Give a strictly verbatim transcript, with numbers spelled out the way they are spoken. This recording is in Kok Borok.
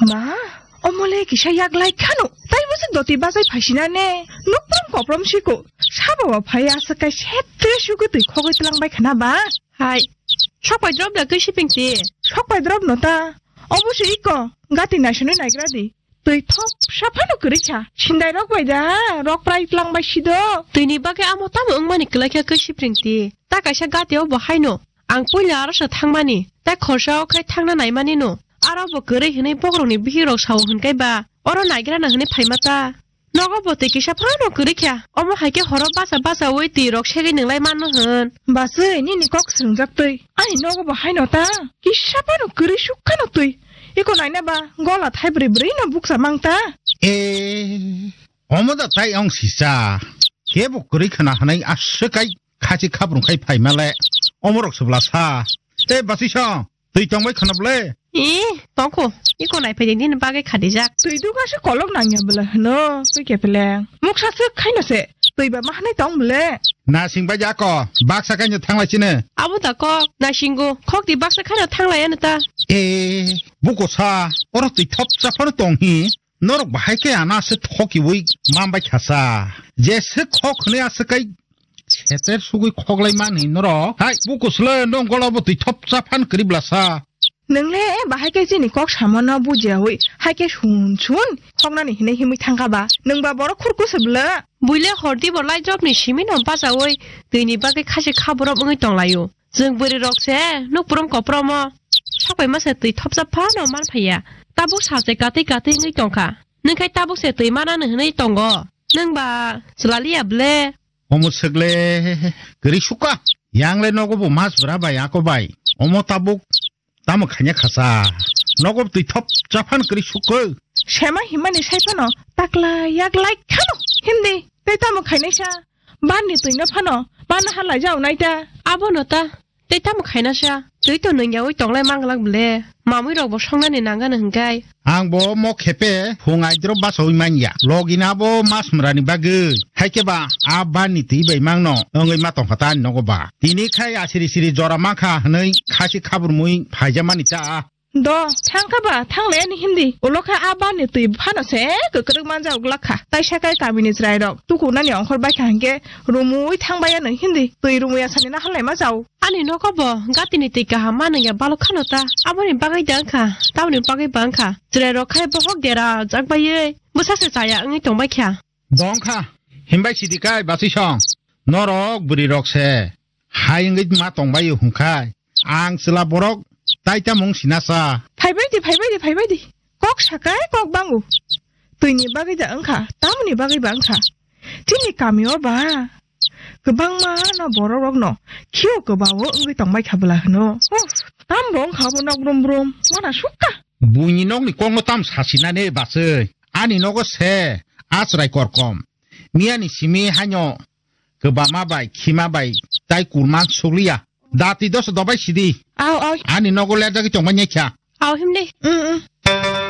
Ma, omole kisa yak lai khano. Tai bwswk doti bajai phaisina ne. Nukprom koprom siko. Sabo bo phai aswk kai setre sugo twi khogwi tlang bai khana ba. Hai. Sok pai drop da kwi siping ti. Sok pai drop no ta. Obo se iko. Gati naisonwi naigra di. Twi thop saphano kwrwi kha. Sindai rok bai da. Rok prai tlang bai sido. Twi ni bagwi amo tamo wngmani kwlai kha kwi sipring ti. Ta kaisa gati o bo haino. Ang puila aro se thangmani. Tai khorsa o khai thangna naimani no. Aro bo kwrwi hinwi bokrok ni bihik rok sao hinkai ba. Oro naigra na hinwi phaima ta. Nogo bo twi kisa phano kwrwi kha. Omo hai khe horo basa basa ui twi rok segwi nwnglai mano hwn. Baswi nini kok swngjak twi. Ani nogo bo haino ta. Kisa phano kwrwi suk khano twi. Iko naina ba gola thai bwrwi bwrwi no buksa mang ta. E, omo da tai ong sisa. Kebo kwrwi khna hwnwi aswk kai khachi khabrung khai phaima le. Omo rok se bwla sa. Te baswi song. Twi tongbai khwna bwle? Ee, tongkho. Iko naiphai di nini bagwi khadijak. Twi duga se kolok nangya bwle hwno, twi kepeleng. Muksa swk khaino se. Twi ba mahanai tong bwle? Nasing bai jako. Baksa kaino thanglai chini. Abo da kok, nasingo. Khok di baksa khaino thanglai ano ta. Ee, buko sa. Oro twi thop chaphano tong hi. Norok bahai khe ana se thokiwi mambai khasa. Jese khok hwnwi aswk kai seter sugwi khoklai mani norok. Hai, bukusle nong gola bo twi thop cha phan kwrwi blasa. Nwngle bahai khe chini kok samano bujiyawi, hai khe sun sun khoknani hinwi himwi thangkha ba. Nwng ba borok khurku se bwle. Buile hordi bo lai jobni simi no bachawi twini bagwi khasi khaborok wngwi tonglaio. Chwng bwrwi rok se nuk prom koprom o sok pai ma se twi thopsa phano man phaiya. Tabuk salchai katwi katwi wngwi tongkha. Nwng khai tabuk se twi manani hwnwi tongo. Nwng ba chwla liya ble? Omo swkle kwrwi sukha. Yang le nogo bo mas bwra bai ako bai. Omo tabuk tamo khaina khasa. Nogo twi thop cha phan kwrwi sukha. Sema himani sai phano takla yak lai khano. Hindi tei tamo khainai sa. Ban ni twi no phano ban halai jao nai ta. Abo no ta. Tei tamo khaina sa. Twi to nung yawi tonglai manglak ble. Mamui rok bo songnani nangano hwnkhe. Ang bo mo khepe phung aidro basawi manya. Logina bo mas mrani bagwi. Haikhe ba a ban ni twi bai mangno wngwi ma tongkha ta ani nogo ba. Tini khai asiri siri jora mankha hwnwi khasi khaburmui phaijamani ta. Do, thangkha ba, thanglai ani hindi. Ulo khe a ban ni twi phano se kwkrwk manjak glak kha. Taisa kai kamini chwrai rok tukunani ongkhor bai kha hinkhe rumui thangbai ano hindi. Twi rumui asani na halai ma jao. Ani nogo bo gatini twi kaham ma nungya balok khano ta. Aboni bagwi da wngkha, tamoni bagwi ba wngkha. Chwrai rok khai bohok dera jak baiwi bwsa se chaya wngwi tongbai kha. Dong kha, himbai sidi kai basui song. Norok bwrwi rok se hai wngwi ma tongbai hwnkhai. Ang chwla borok tai tamung sinasa. Phaibai di, phaibai di, phaibai di. Kok sakai kok bangu. Twini bagwi da wngkha, tamoni bagwi ba wngkha. Chini kamio ba kwbangma no borok rokno khio kwbao wngwi tongbai kha bwla hwno. Oh, tam bo wngkha bo nok brum brum, wana sukha. Buini nokni kokno tam sasinani basui. Ani nogo se, a chwrai korkom. Miyani simi haino kwbama bai, khima bai, tai kurman sukliya. Dati doso dobai sidi. Au, au. Ani nogo lerjagwi tongbai nyakha. Au himle. Mm, mm.